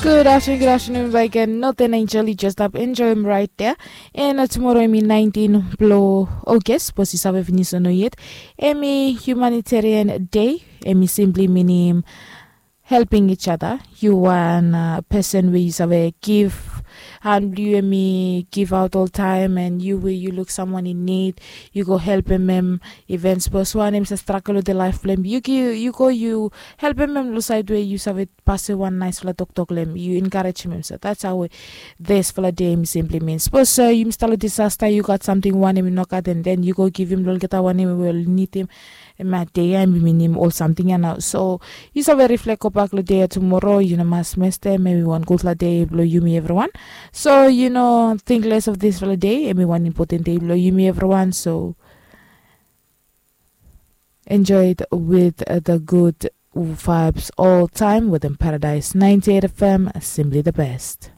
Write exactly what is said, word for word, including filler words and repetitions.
Gud aftenun, gud aftenun baik gen. Noten enjel, yu jes stap enjoem raet dea. An tumoro em i naentin blong oges, sapos yu save finis o no yet. Em i humanitarian dei. Em i simpli minim helping each other. Yu wan pesen we yu save gif han blong yu, em i givaot oltaem, an yu we yu luk samwan in nid, yu go helpem em. Iven sapos wan em save stragel wetem laef blong em, yu go yu helpem em long saed we yu save pasem wan naesfala toktok long em, yu enkarejem em. So that's how we disfala dei em i simpli min. Sapos yumi stap long disasta, yu gat samting wanem i no gat, an den yu go givim long olgeta wanem we oli nidim, em ya dei ya em i minim ol samting ya nao. So yu save riflek gobak long dei ya tumoro, yu no mas mestem. Em i wan gudfala dei blong yumi evriwan. So yu no ting les of disfala dei, em i wan impoten dei blong yumi evriwan. So enjoy it with the good vibes oltaem wetem Paradise ninety-eight F M, simply the best.